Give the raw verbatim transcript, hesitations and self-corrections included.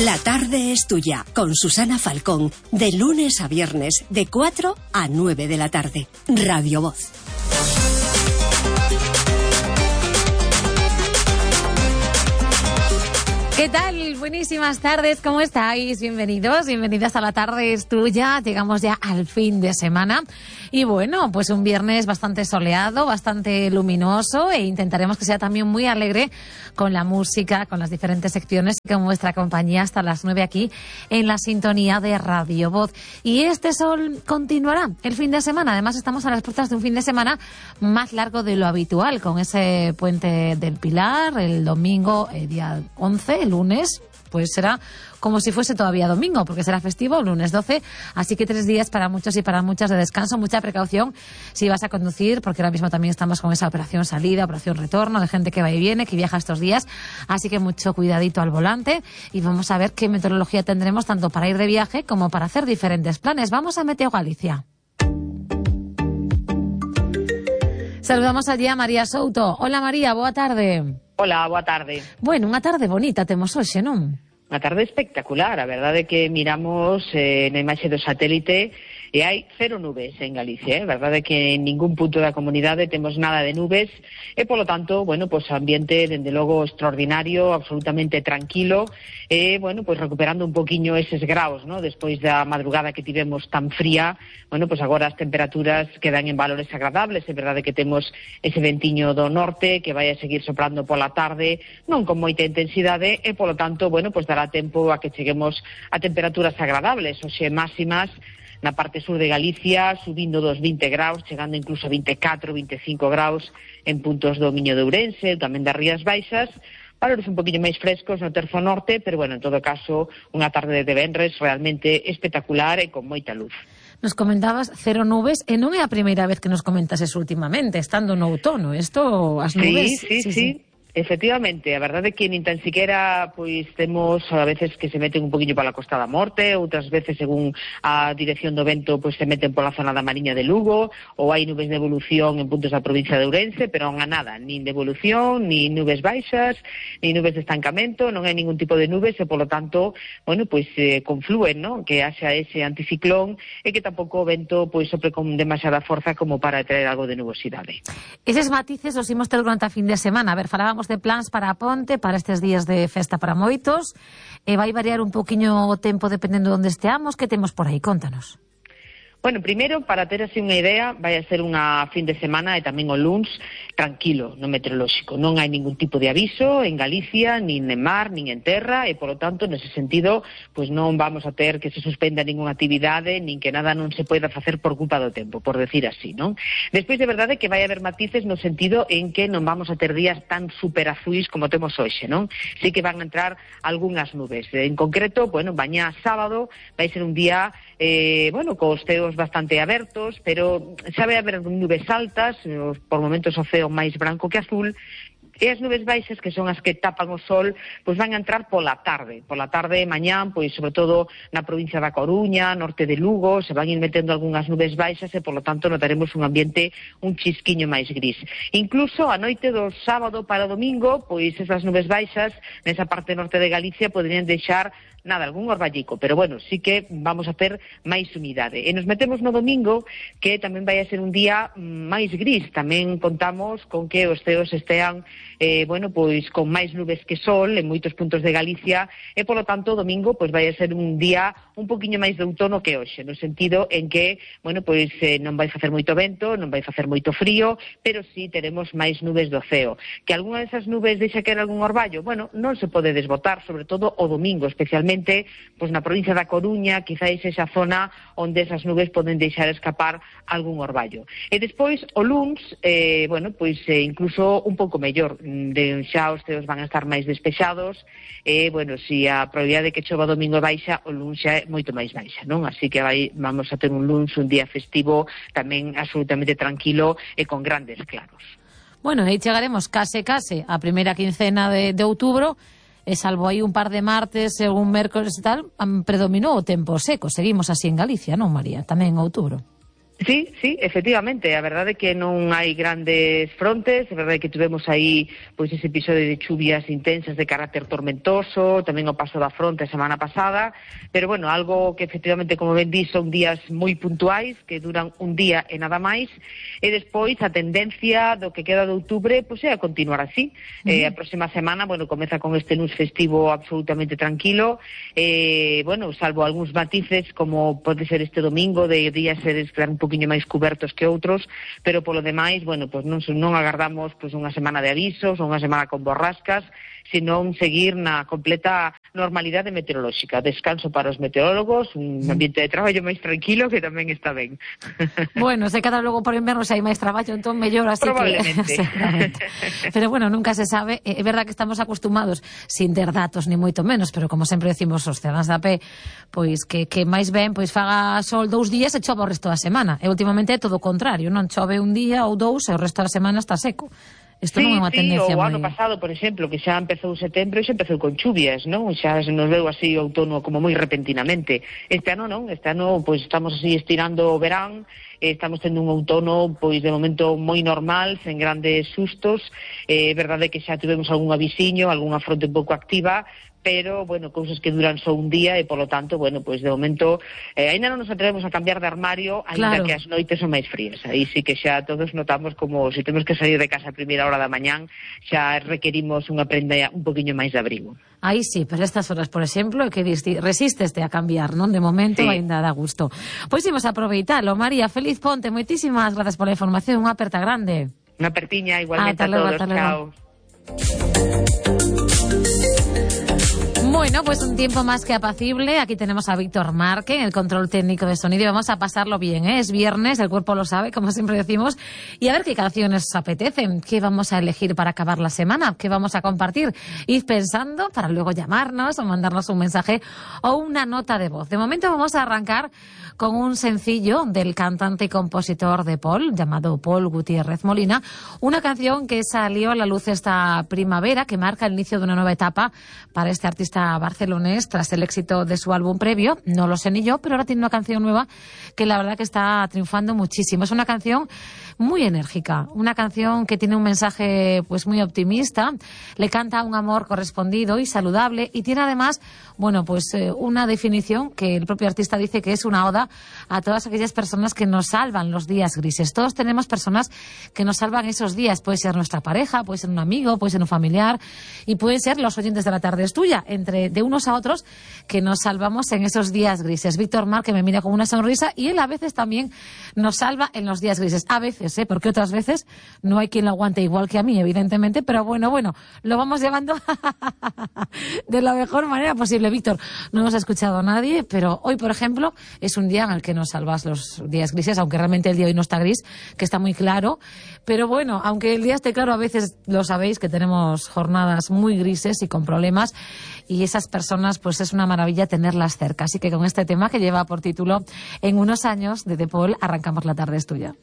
La tarde es tuya, con Susana Falcón, de lunes a viernes, de cuatro a nueve de la tarde. Radio Voz. ¿Qué tal? Buenísimas tardes, ¿cómo estáis? Bienvenidos, bienvenidas a La Tarde es Tuya. Llegamos ya al fin de semana y bueno, pues un viernes bastante soleado, bastante luminoso e intentaremos que sea también muy alegre con la música, con las diferentes secciones y con vuestra compañía hasta las nueve aquí en la sintonía de Radio Voz. Y este sol continuará el fin de semana. Además estamos a las puertas de un fin de semana más largo de lo habitual, con ese puente del Pilar, el domingo, el día once, el lunes, pues será como si fuese todavía domingo, porque será festivo, lunes doce, así que tres días para muchos y para muchas de descanso. Mucha precaución si vas a conducir, porque ahora mismo también estamos con esa operación salida, operación retorno, de gente que va y viene, que viaja estos días, así que mucho cuidadito al volante y vamos a ver qué meteorología tendremos tanto para ir de viaje como para hacer diferentes planes. Vamos a Meteo Galicia. Saludamos allí a María Souto. Hola María, boa tarde. Hola, boa tarde. Bueno, unha tarde bonita temos hoxe, non? Unha tarde espectacular, a verdade é que miramos eh, na imaxe do satélite e hai cero nubes en Galicia, eh? A verdade é que en ningún punto da comunidade temos nada de nubes e, polo tanto, bueno, pues ambiente, dende logo, extraordinario, absolutamente tranquilo e, bueno, pues recuperando un poquinho eses graus, ¿no? Despois da madrugada que tivemos tan fría, bueno, pues agora as temperaturas quedan en valores agradables, é verdade que temos ese ventiño do norte que vai a seguir soprando pola tarde, non con moita intensidade e, polo tanto, bueno, pues dará tempo a que cheguemos a temperaturas agradables, oxe máximas na parte sur de Galicia, subindo dos vinte graus, chegando incluso a vinte e catro, vinte e cinco graus en puntos do Miño de Ourense, tamén das Rías Baixas, valores un poquinho máis frescos no terzo norte, pero bueno, en todo caso, unha tarde de venres realmente espectacular e con moita luz. Nos comentabas cero nubes, e non é a primeira vez que nos comentas eso últimamente, estando no outono, isto, as nubes... Sí, sí, sí, sí. Efectivamente, a verdade é que nin tan siquiera pois temos a veces que se meten un poquinho pola Costa da Morte, outras veces según a dirección do vento pois se meten pola zona da Mariña de Lugo, ou hai nubes de evolución en puntos da provincia de Ourense, pero non há nada, nin de evolución, nin nubes baixas, nin nubes de estancamento, non hai ningún tipo de nubes e polo tanto, bueno, pois eh, conflúen, ¿no? Que haxa ese anticiclón e que tampouco o vento pois sopre con demasiada forza como para traer algo de nubosidade. Eses matices os imos ter durante a fin de semana. A ver, falábamos de plans para a ponte, para estes días de festa para moitos, e vai variar un poquinho o tempo dependendo de onde esteamos. Que temos por aí? Contanos. Bueno, primeiro, para ter así unha idea, vai a ser unha fin de semana e tamén o luns tranquilo no meteorolóxico. Non hai ningún tipo de aviso en Galicia, nin en mar, nin en terra, e, polo tanto, nese sentido, pois non vamos a ter que se suspenda ninguna actividade, nin que nada non se poida facer por culpa do tempo, por decir así, non? Despois, de verdade, que vai haber matices no sentido en que non vamos a ter días tan super azuis como temos hoxe, non? Sí que van a entrar algunhas nubes. En concreto, bueno, mañá sábado vai ser un día, eh, bueno, cos ceos bastante abertos, pero xa vai haber nubes altas, por momentos o ceo máis branco que azul, e as nubes baixas, que son as que tapan o sol, pois van a entrar pola tarde. Pola tarde, mañán, pois sobre todo na provincia da Coruña, norte de Lugo, se van ir metendo algunhas nubes baixas e, polo tanto, notaremos un ambiente un chisquiño máis gris. Incluso a noite do sábado para o domingo, pois esas nubes baixas nesa parte norte de Galicia poderían deixar nada, algún orballico, pero bueno, sí que vamos a ter máis humidade. E nos metemos no domingo, que tamén vai a ser un día máis gris. Tamén contamos con que os ceos estean, eh, bueno, pois con máis nubes que sol en moitos puntos de Galicia, e polo tanto o domingo pois vai a ser un día un poquinho máis de outono que hoxe, no sentido en que, bueno, pois eh, non vai facer moito vento, non vai facer moito frío, pero sí teremos máis nubes do ceo. Que algunha desas nubes deixa caer algún orballo? Bueno, non se pode desbotar, sobre todo o domingo, especialmente pois na provincia da Coruña, quizáis esa zona onde esas nubes poden deixar escapar algún orballo. E despois, o luns, eh, bueno, pois eh, incluso un pouco mellor, de xa os ceos van a estar máis despexados, e, bueno, si a probabilidade de que chova domingo baixa, o luns xa é moito máis baixa, non? Así que vai, vamos a ter un luns, un día festivo, tamén absolutamente tranquilo e con grandes claros. Bueno, aí chegaremos case, case a primeira quincena de, de outubro, e salvo aí un par de martes e un mércores e tal, predominou o tempo seco. Seguimos así en Galicia, non, María? Tamén en outubro. Sí, sí, efectivamente, a verdade é que non hai grandes frontes, a verdade é que tivemos aí pois ese episodio de chuvias intensas de carácter tormentoso, tamén o paso da fronte a semana pasada, pero bueno, algo que efectivamente, como ben di, son días moi puntuais, que duran un día e nada máis, e despois a tendencia do que queda de outubro pois é a continuar así. Uh-huh. Eh, a próxima semana, bueno, comeza con este luns festivo absolutamente tranquilo, eh, bueno, salvo algúns matices, como pode ser este domingo, de días seres un poquinho máis cubertos que outros, pero polo demais, bueno, pois non, non agardamos pois unha semana de avisos, unha semana con borrascas, senón seguir na completa normalidade meteorolóxica. Descanso para os meteorólogos, un ambiente de traballo máis tranquilo, que tamén está ben. Bueno, se cada logo por inverno se hai máis traballo, entón mellor, así probablemente. Que... Pero bueno, nunca se sabe. É verdad que estamos acostumados, sin ter datos, ni moito menos, pero como sempre decimos os cidadanos da P, pois que, que máis ben, pois faga sol dous días e chova o resto da semana. E últimamente é todo o contrario, non chove un día ou dous e o resto da semana está seco. Isto sí, non é unha tendencia sí, o moi... ano pasado, por exemplo, que xa empezou setembro e xa empezou con chuvias, non? Xa se nos veu así o outono como moi repentinamente. Este ano non, este ano pois estamos así estirando o verán, estamos tendo un outono pois de momento moi normal, sen grandes sustos. É eh, verdade que xa tivemos algún avisiño, algunha fronte un pouco activa, pero, bueno, cousas que duran só un día e, polo tanto, bueno, pois de momento eh, ainda non nos atrevemos a cambiar de armario, ainda claro. Que as noites son máis frías. Aí sí que xa todos notamos como se temos que sair de casa a primeira hora da mañán, xa requerimos unha prenda un poquinho máis de abrigo. Aí sí, pero estas horas, por exemplo, que resisteste a cambiar, non? De momento sí. Ainda dá gusto. Pois imos a aproveitalo. María, feliz ponte, moitísimas grazas pola información, unha aperta grande. Unha apertiña, igualmente a todos, chao. Bueno, pues un tiempo más que apacible. Aquí tenemos a Víctor Marque en el control técnico de sonido y vamos a pasarlo bien, ¿eh? Es viernes, el cuerpo lo sabe, como siempre decimos. Y a ver qué canciones os apetecen, qué vamos a elegir para acabar la semana, qué vamos a compartir. Id pensando para luego llamarnos o mandarnos un mensaje o una nota de voz. De momento vamos a arrancar con un sencillo del cantante y compositor de Paul, llamado Paul Gutiérrez Molina, una canción que salió a la luz esta primavera, que marca el inicio de una nueva etapa para este artista barcelonés tras el éxito de su álbum previo. No lo sé ni yo, pero ahora tiene una canción nueva que la verdad que está triunfando muchísimo. Es una canción muy enérgica, una canción que tiene un mensaje pues muy optimista, le canta un amor correspondido y saludable y tiene además, bueno, pues eh, una definición que el propio artista dice que es una oda a todas aquellas personas que nos salvan los días grises. Todos tenemos personas que nos salvan esos días, puede ser nuestra pareja, puede ser un amigo, puede ser un familiar y pueden ser los oyentes de La Tarde es Tuya, entre de unos a otros que nos salvamos en esos días grises. Víctor Marque me mira con una sonrisa y él a veces también nos salva en los días grises. A veces, ¿eh? Porque otras veces no hay quien lo aguante igual que a mí, evidentemente, pero bueno, bueno, lo vamos llevando de la mejor manera posible. Víctor, no hemos escuchado a nadie, pero hoy, por ejemplo, es un día en el que nos salvas los días grises, aunque realmente el día hoy no está gris, que está muy claro. Pero bueno, aunque el día esté claro, a veces lo sabéis que tenemos jornadas muy grises y con problemas, y esas personas, pues es una maravilla tenerlas cerca. Así que con este tema que lleva por título En unos años, de The Paul, arrancamos La Tarde es Tuya.